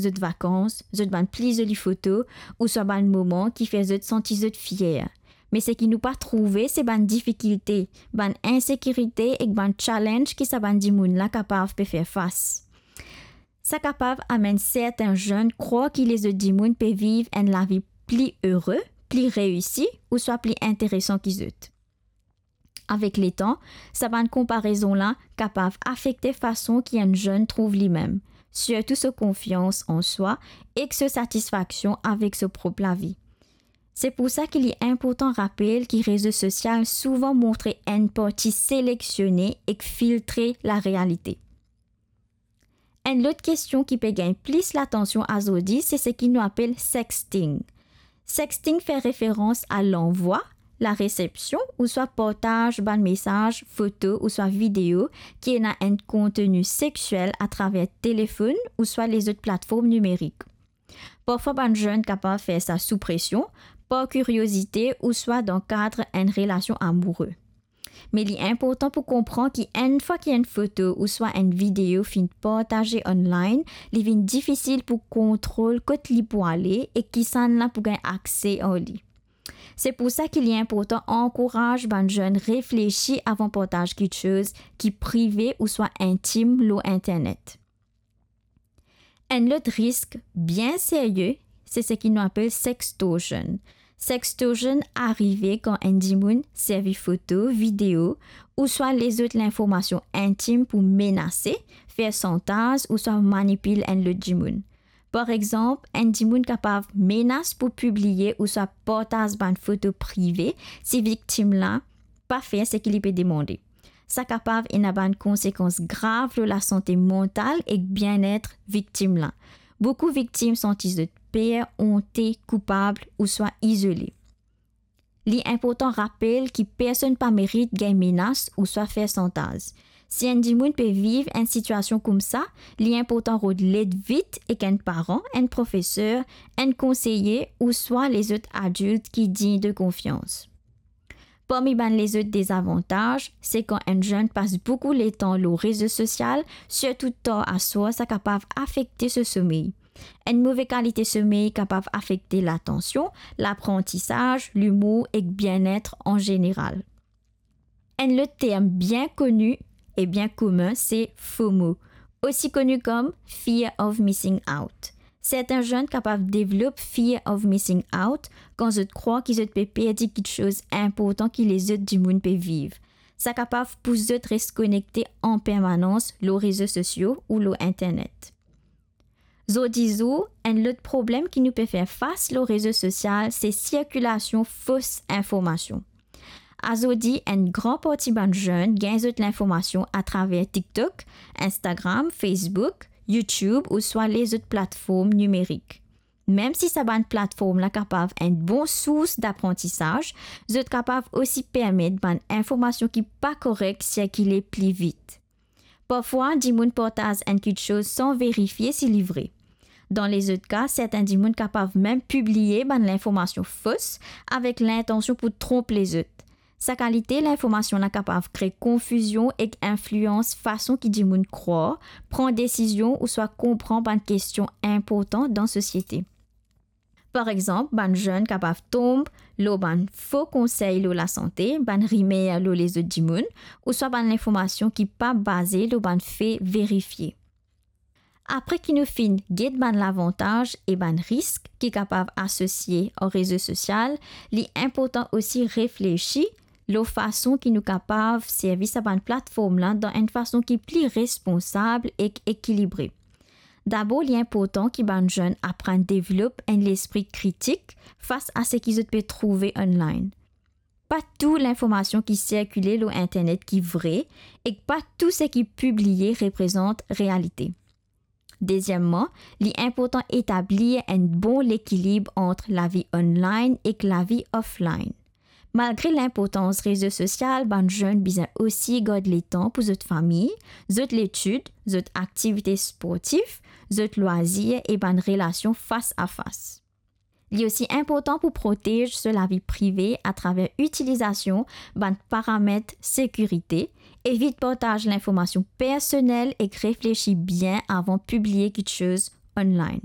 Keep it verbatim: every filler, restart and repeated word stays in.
zot vakans, zot bann pli zoli foto, ouswa bann moman ki fer zot santi zot fier. Me seki nou pa trouve, se bann difikilte, bann insekirite ek bann challenge ki sa bann dimoun la kapav pe fer fas. Sa kapav amenn serten zenn krwar ki lezot dimoun pe viv enn lavi pli ere, pli reisi, ouswa pli interesan ki zot. Avek letan, sa bann konparezon la kapav afekte fason ki enn zenn trouv limem, sirtou so konfians an swa ek so satisfaksion avek so prop lavi. Se pou sa ki li inportan rapel ki rezo sosial souvan montre enn parti selektione ek filtre larealite. Enn lot kestion ki pe gagn plis latansion azordi, se seki nou apel sexting. Sexting fer referans a lanvwa, laresepsion ouswa partaz bann mesaz, foto ouswa video ki ena enn konteni sexiel atraver telefonn ouswa lezot platform nimerik. Parfwa bann zenn kapav fer sa sou presion, par kiriozite ouswa dan kad enn relasion amoure. Me li inportan pou konpran ki enn fwa ki enn foto ouswa enn video finn partaze online, li vinn difisil pou kontrol kot li pou ale e kisannla pou gagn akse ar li. Se pou sa ki li inportan ankouraz bann zenn reflesi avan partaz kiksoz ki prive ouswa intim lor internet. Enn lot risk bien serye, se seki nou apel sextortion. Sextortion arive kan enn dimoun servi foto, video ouswa lezot linformasion intim pou menase, fer santaz ouswa manipil enn lot dimoun. Par exanp, enn dimoun kapav menas pou pibliye ouswa partaz bann foto prive si viktim la pa fer seki li pe demande. Sa kapav ena bann konsekans grav lor lasante mantal ek bienet viktim la. Boukou viktim santi zot per, onte, koupab ouswa izole. Li inportan rapel ki personn pa merit gagn menas ouswa fer santaz. Si enn dimoun pe viv enn sitiasion koumsa, li inportan rod led vit ek enn paran, enn profeser, enn konseye ouswa lezot adilt ki dign de konfians. Parmi bann lezot dezavantaz, se kan enn zenn pas boukou letan lor rezo sosial, sirtou tar aswar, sa kapav afekte so somey. Enn move kalite somey kapav afekte latansion, laprantisaz, limour ek bienet an zeneral. Enn lot term bien koni e bien komin, se FOMO, osi koni kom Fear of Missing Out. Serten zenn kapav develop Fear of Missing Out kan zot krwar ki zot pe perdi kiksoz inportan ki lezot dimoun pe viv. Sa kapav pous zot res konekte an permanans lor rezo sosio ou lor internet. Zordizour, enn lot problem ki nou pe fer fas lor rezo sosial, se sirkilasion fos informasion. Azordi, enn gran parti bann zenn gagn zot linformasion atraver TikTok, Instagram, Facebook, YouTube ouswa lezot platform nimerik. Mem si sa bann platform la kapav enn bon sours daprantisaz, zot kapav osi permet bann informasion ki pa korek sirkile pli vit. Parfwa, dimoun partaz enn kiksoz san verifie si li vre. Dan lezot ka, serten dimoun kapav mem pibliye bann linformasion fos avek lintansion pou tronp lezot. Sa kalite linformasion la kapav kre konfizion ek inflians fason ki dimoun krwar, pran desizion ouswa konpran bann kestion inportan dan sosiete. Par exanp, bann zenn kapav tonb lor bann fo konsey lor lasante, bann rimer lor lezot dimoun, ouswa bann linformasion ki pa baze lor bann fe verifie. Apre ki nou finn get bann lavantaz e bann risk ki kapav asosie ar rezo sosial, li inportan osi reflesi lor fason ki nou kapav servi sa bann platform la dan enn fason ki pli responsab ek ekilibre. Dabor, li inportan ki bann zenn aprann develop enn lespri kritik fas a seki zot pe trouve online. Pa tou linformasion ki sirkile lor internet ki vre, ek pa tou seki pibliye reprezant realite. Dezieman, li inportan etablir enn bon lekilib ant lavi online ek lavi offline. Malgre linportans rezo sosial, bann zenn bizin osi gard letan pou zot fami, zot letid, zot aktivite sportif, zot lwazir e bann relasion fas a fas. Li osi inportan pou protez so lavi prive atraver itilizasion bann paramet sekirite, evit partaz linformasion personel ek reflesi bien avan pibliye kiksoz online.